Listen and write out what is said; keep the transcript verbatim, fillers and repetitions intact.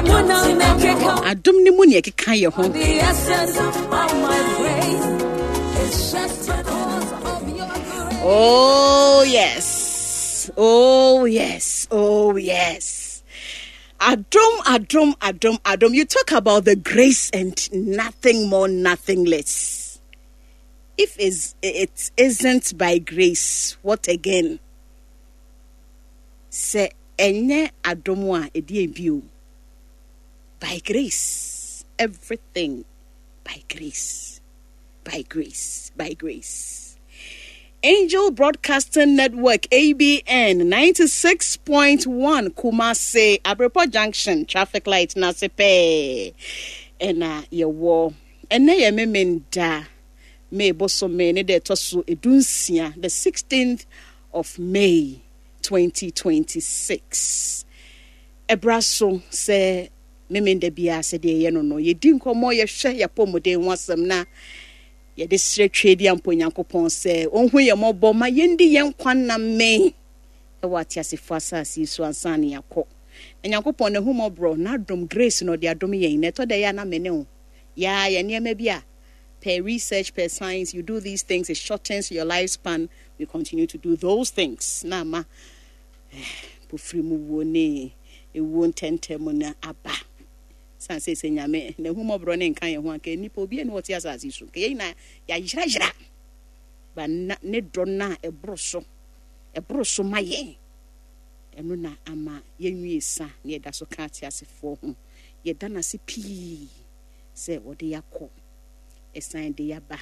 Adom ne mu ne ɛkeka yɛ ho. Oh yes, oh yes, oh yes. Adom, adom, adom, adom. You talk about the grace and nothing more, nothing less. If it isn't by grace, what again? Sɛ ɛnyɛ adom a ɛdi bio. By grace, everything by grace, by grace, by grace. Angel Broadcasting Network, A B N ninety-six point one, Kumasi, Abrepo Junction, traffic light, Nasipe. Ɛna yɛwɔ ɛnɛ yɛ Memenda, May bosome ne deɛ ɛtɔ so edunsia, the sixteenth of May twenty twenty-six. Ɛbra so sɛ Memenda biara, sɛdeɛ ɛyɛ no no yɛdi nkɔmmɔ, yɛhwɛ yɛapɔmuden ho asɛm na yɛde srɛ Twɛ di ampo Nyankopɔn sɛ ɔnhu yɛn mmɔbɔ ma yɛndi yɛn nkwa nname ɛwɔ ateasefoɔ asase yi so ansa ne yɛakɔ. Na Nyankopɔn n'ahu mmɔborɔ n'adom, grace na ɔde adom yɛn na ɛtɔ da yɛ a na mene wo yaa yɛ nneɛma bi a per research, per science, you do these things, it shortens your lifespan. We continue to do those things na ama pofiri mu wuo ne ewuo ntɛntɛm na aba san sɛ sɛ Nyame na ehu mmɔborɔ ne nka yɛn ho anka nipa obi ani wɔte asase so nka yɛn nyinaa yɛayerayera ba. Na ne dɔ no a ɛboro so, ɛboro so ma yɛn, ɛno na ama yɛnwie sa na yɛda so ka ateasefoɔ ho. Yɛda n'ase pii sɛ wɔde yɛakɔ, ɛsan de yɛaba.